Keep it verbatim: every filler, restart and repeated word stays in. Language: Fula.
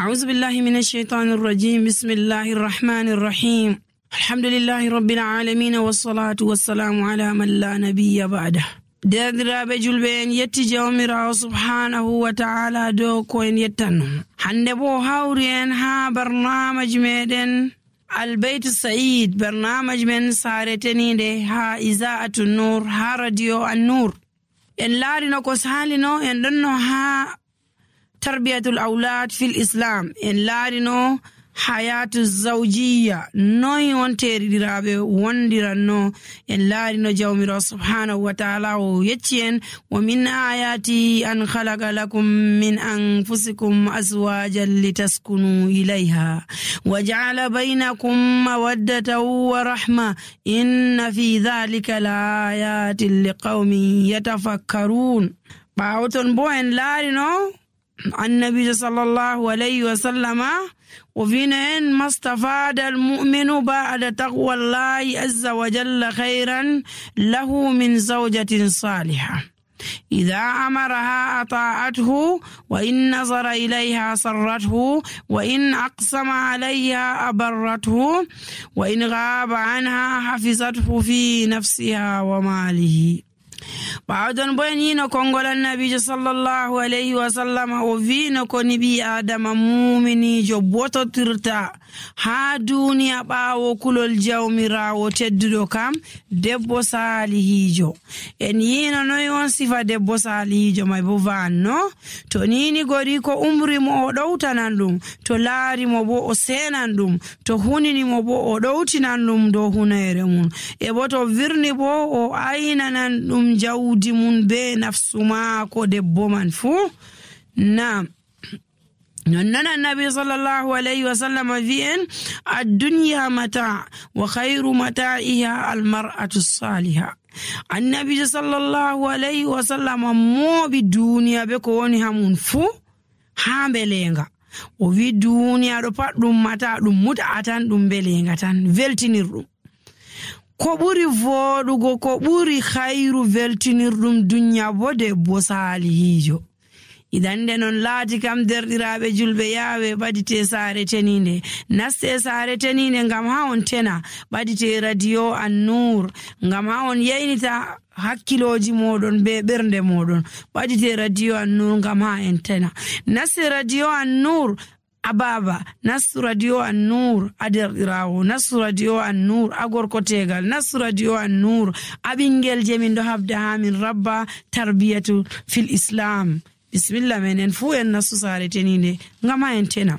Auzu billahi min asheytani rrajim. Bismillahi rrahmani rrahim. Alhamdulillahi rabbil alamina, wassalatu wassalamu ala man la nabiya ba'da. Deerɗiraaɓe julɓe, en yetti Jawmiraawo subhanahu wa ta'ala dow ko en yettanno. Hannde bo o hawri en haa barnaamaji meɗen Albeytu Sa'id, barnaamaji men saare teniinde haa Iza'atu Nur, haa Radio An-Nur. En laarino ko saalino, en ɗonno haa tarbiyatul awlad fil Islam. En laarino hayatu zawjiya, noy on teeriɗiraaɓe wondiranno. En laarino Jawmiraawo subhanahu wa ta'ala o yecci en, "Wa min ayati an khalaqa lakum min anfusikum azwajan litaskunu ilayha wa ja'ala baynakum mawaddatan wa rahma, inna fi dhalika la ayatin liqawmin yatafakkarun." Ɓaawo ton bo en laarino Annabiijo sallallahu alayhi wa sallama, o wi'no en, "Mastafada al-mu'minu ba'da taqwallahi azza wa jalla khayran lahu min zawjatin salihah. Idha amaraha ata'athu, wa in nazara ilayha sarrathu, wa in aqsama alayha abarrathu, wa in ghaba anha hafizathu fi nafsiha wa malihi." Ɓaawo ɗon bo en yiino konngol Annabiijo sallallahu alayhi wa sallam, o wi'no ko ni ɓii Aadama muuminiijo bototirta haa duuniya ɓaawo kulol Jawmiraawo tedduɗo kam, debbo saalihiijo. En yiino noy on sifa debbo saalihiijo may bo vanno. To niini gori ko umri mo o ɗowtanan ɗum, to laari mo bo o seenan ɗum, to hunini mo bo o ɗowtinan ɗum dow huneere mum. E bo to virni bo o aynanan ɗum jawdi mum be nafsu maako debbo man fuu. Naam. Nonnon Annabi sallallahu alayhi wa sallam wi'i en, "Addunya mata wa khayru mata'iha al-mar'atu saliha." Annabiijo sallallahu alayhi wa sallam mooɓi duuniya be ko woni haa mum fuu haa mbeleenga. O wi'i duuniya ɗo pat ɗum mata, ɗum mut'a tan, ɗum mbeleenga tan, weltinirɗum. Ko ɓuri vooɗugo, ko ɓuri khayru weltinirɗum dunya bo debbo saalihiijo. Idan nde non laati kam, deerɗiraaɓe julɓe, yaawe ɓadite saare teniinde. Naste saare teniinde ngam haa on tena. Ɓadite Radio An-Nur ngam haa on yaynita hakkilooji mooɗon be ɓernde mooɗon. Ɓadite Radio An-Nur ngam haa en tena. Naste Radio An-Nur a baaba, nastu Radio An-Nur a deerɗiraawo, nastu Radio An-Nur a gorko teegal, nastu Radio An-Nur a ɓinngel je min ɗo haɓda haa min rabba tarbiyatu fil Islam. Bismillah, menen fuu en nastu saare teniinde ngam haa en tena.